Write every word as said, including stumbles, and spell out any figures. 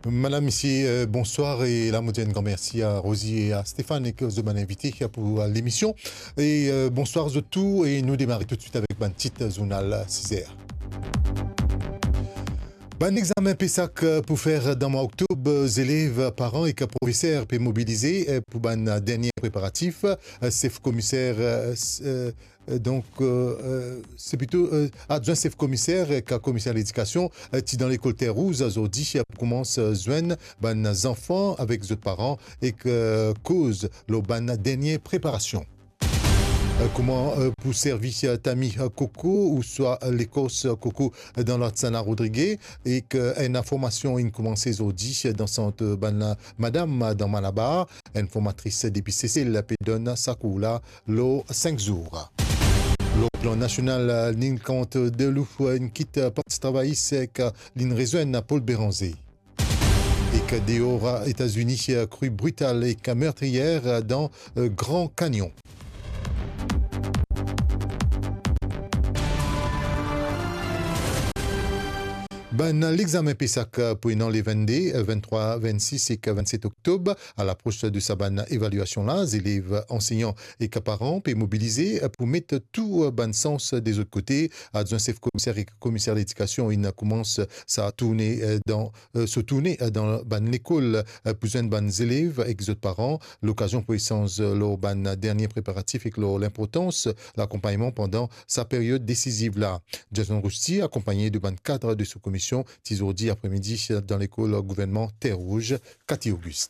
Madam, misie, euh, bonswar, e la mo dir enn gran mersi a Rosie e a Stéphane, e ki zot bann invite pou, euh, lemision. E, euh, bonswar zot tou, e nou demare toutswit avek bann tit zournal sizer. Bann examen PESAC, euh, pou fer dan mwa oktob, euh, zelev, paran ek profeser pe mobilize, euh, pou bann dernie preparatif. Euh, sef komiser, euh, s-, euh, euh, donk, euh, euh, se plito, euh, adwin sef komiser, euh, ek komiser ledikasion, euh, ti dan lekol Terre Rouge, zordi, euh, pou koumans, euh, zwenn bann zanfan avek zot paran ek, euh, koz lor bann dernie preparasion. Euh, kouma, euh, pou servi, euh, tami, euh, koko ouswa, euh, lekos, euh, koko, euh, dan larsana Rodrige, ek, euh, enn formasion inn koumanse zordi, euh, dan sant, euh, bann, euh, madam, euh, dan Malabar. Enn formatris depi Sesel pe donn sa kour la lor sink zour. Lor plan nasional, euh, Nicandre Deloue, euh, inn kit, euh, Parti Travayis, euh, ek, euh, linn rezwenn Paul Bérenger. Ek deor Etazini, kri brital ek mertriyer dan, euh, Gran Kanyon. Bann lexamen PESAC pou ena le vennde, venntrwa, vennsis ek vennset oktob. A lapros de sa bann evaliasion la, zelev, ansegnan ek paran pe mobilize pou met tou bann sans de zot kote. Adwin sef komiser ek komiser ledikasion inn koumans sa tourne, euh, dan, euh, so tourne, euh, dan bann lekol, euh, pou zwenn bann zelev ek zot paran. Lokazion pou esanz, euh, lor bann dernie preparatif ek lor linportans lakonpagnman pandan sa period desiziv la. Jason Rousti, akonpagne de bann kad de so komisie, ti zordi apremidi dan lekol gouvernman Terre Rouge, Cathy Auguste.